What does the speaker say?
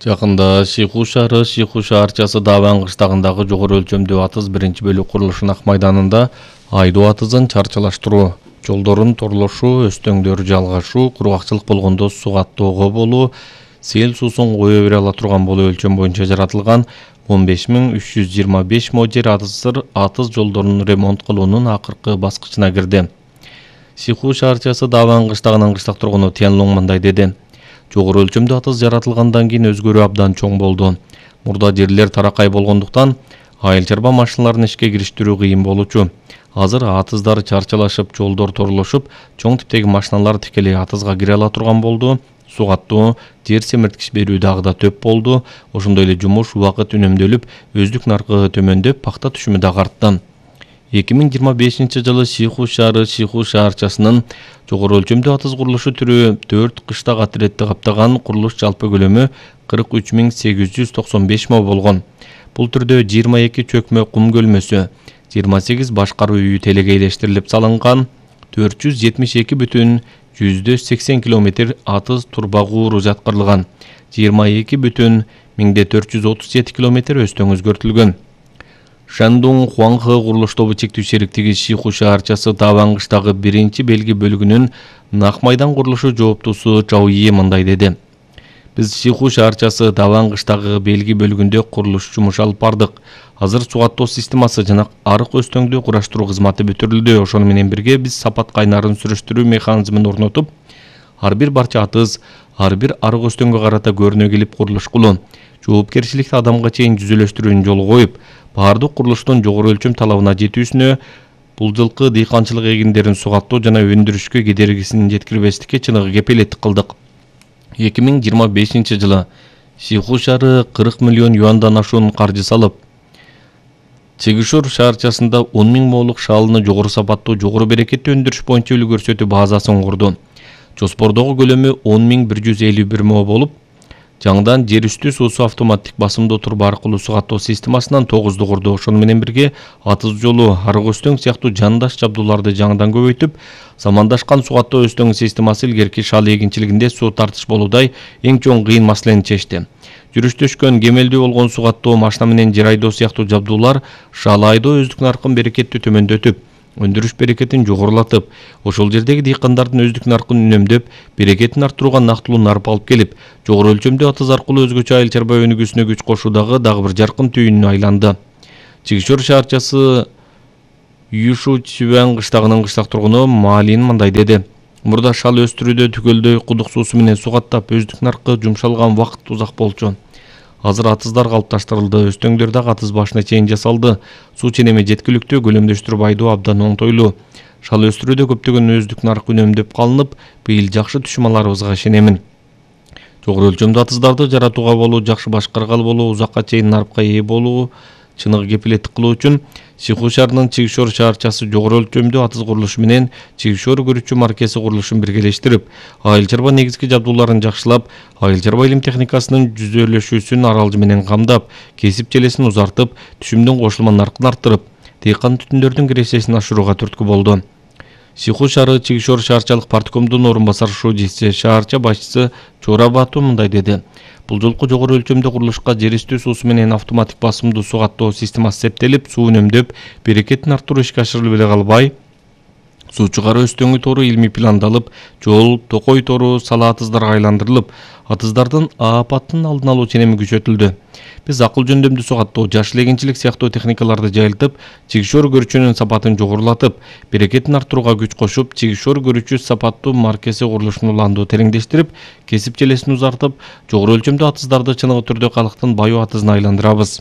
Жакында Шиху шаары Шиху шаарчасы Даван кыштагындагы жогору өлчөмдүү атыз биринчи бөлүк курулушунун ак майданында айдоо атызын чарчалаштыруу, жолдордун торлошу, өстөңдөр жалгашуу, кургакчылык болгондо суу каттоого болуу, сел суусун кое бере ала турган болуу өлчөм боюнча жаратылган 15325 мо жер атыз жолдорун ремонт кылуунун акыркы баскычына кирди. Шиху шаарчасы Даван кыштагынын кыштак тургуну Тянлуң мындай деди. Жогору өлчөмдүү атыз жаратылгандан кийин өзгөрүү абдан чоң болду. Мурда жерлер таракай болгондуктан айыл чарба машиналарын ишке кириштирүү кыйын болчу. Азыр атыздар чарчалашып, жолдор торлошуп, чоң типтеги машиналар тикелей атызга кире ала турган болду. Суу каттоо, жер семирткич берүү дагы да төп болду. Ошондой эле жумуш убакыт үнөмдөлүп, өздүк наркы төмөндөп, пакта түшүмү дагы артты. 2025 жылы Шиху шаары Шиху шаарчасынын жогору өлчөмдүү атыз курулушу түрү 4 кыштак атыретти каптаган курулуш жалпы көлөмү 43895 мо болгон. Бул түрдө 22 чөкмө кум көлмөсү, 28 башкаруу үйү телегейлештирилип салынган, 472,180 км атыз турбагууру жаткырылган, 22,437 км өстөң өзгөртүлгөн. Шандун Хуаңхы курулуш тобу чектүү шериктиги Шиху шаарчасы Даван кыштагы биринчи белги бөлүгүнүн Нак майдан курулушу жооптусу Чао Йи мындай деди. Биз Шиху шаарчасы Даван кыштагы белги бөлүгүндө курулуш жумуш алып бардык. Азыр суу каттоо системасы жана арык өстөңдү кураштыруу кызматы бүтүрүлдү. Ошону менен бирге биз сапат кайнарын сүрүштүрүү механизмин орнотуп, ар бир барча атыз, ар бир арык өстөңгө карата көрүнө келип курулуш кылуу, жоопкерчиликти адамга чейин жүзөлөштүрүүнү жолго коюп, баардык курулуштун жогору өлчөм талабына жетүүсүнө, бул жылкы дыйканчылык эгиндерин суу каттоо жана өндүрүшкө кедергисин жеткирбестикке чыныгы кепилеттик кылдык. 2025 жылы Шиху шаары 40 миллион юандан ашуун каржы салып, Чигишур шаарчасында 10 000 молук шаалыны жогору сапаттуу, жогору берекеттүү өндүрүш боюнча үлгү көрсөтүү базасын курду. Жоспордогу көлөмү 10.151 мо болуп, жаңыдан жер үстү суусу автоматтик басымдуу турба аркылуу суу каттоо системасынан 9ду курду. Ошону менен бирге атыз жолу, арык өстөң сыяктуу жандаш жабдууларды жаңыдан көбөйтүп, замандашкан суу каттоо өстөң системасы илгерки шаал эгинчилигинде суу тартыш болуудай эң чоң кыйын маселени чечти. Жүрүштөшкөн, кемелдүү болгон суу каттоо, машина менен жер айдоо сыяктуу жабдуулар шаал айдоо өздүк наркын берекеттүү төмөндөтүп, өндүрүш берекетин жогорулатып, ошол жердеги дыйкандардын өздүк наркын үнөмдөп, берекетин арттырууга нактылуу нарп алып келип, жогору өлчөмдүү атыз аркылуу өзгөчө айыл чарба өнүгүүсүнө күч кошуудагы дагы бир жаркын түйүнүнө айланды. Чигишур шаарчасы Юшу Чивэн кыштагынын кыштак тургуну Маалин мындай деди. Мурда шал өстүрүүдө түгөлдөй кудук суусу менен суу каттап, өздүк наркы жумшалган вакыт узак болчу. Азыр атыздар калыпташтырылды, өстөңдөр дагы атыз башына чейин жасалды. Суу ченеми жеткиликтүү, көлөмдөштүрүп айдоо абдан оңтойлуу. Шал өстүрүүдө көптөгөн өздүк нарк үнөмдөп калынып, быйыл жакшы түшүм аларыбызга ишенемин. Жогору өлчөмдүү атыздарды жаратууга болуу, жакшы башкаргалы болуу, узакка чейин нарпка ээ болуу чыныгы кепилеттик кылуу үчүн Шиху шаарынын Чигишур шаарчасы жогору өлчөмдүү атыз курулушу менен Чигишур көрүүчү маркеси курулушун биргелештирип, айыл чарба негизги жабдууларын жакшылап, айыл чарба илим техникасынын жүзөлөшүүсүн аралжы менен камдап, кесип желесин узартып, түшүмдүн кошулма наркын арттырып, дыйкан түтүндөрдүн киресесин ашырууга түрткү болду. Шиху шаары Чигишур шаарчалык парткомдун орун басар шуудиси, шаарча башчысы Чора Бату мындай деди. Бул жолку жогору өлчөмдүү курулушка жер үстү суусу менен автоматтик басымдуу суу каттоо системасы септелип, суу үнөмдөп, берекетин арттыруу ишке ашырылып эле калбай, суу чыгаруу өстөңү тору илмий пландалып, жол, токой тору сала атыздарга айландырылып, атыздардын апаттын алдын алуу ченеми күчөтүлдү. Биз акыл жөндөмдүү суу каттоо, жашыл эгинчилик сыяктуу техникаларды жайылтып, Чигишур көрүүчүнүн сапатын жогорулатып, берекетин арттырууга күч кошуп, Чигишур көрүүчү сапаттуу маркеси курулушун уланду тереңдештирип, кесип желесин узартып, жогору өлчөмдүү атыздарды чыныгы түрдө калктын баю атызына айландырабыз.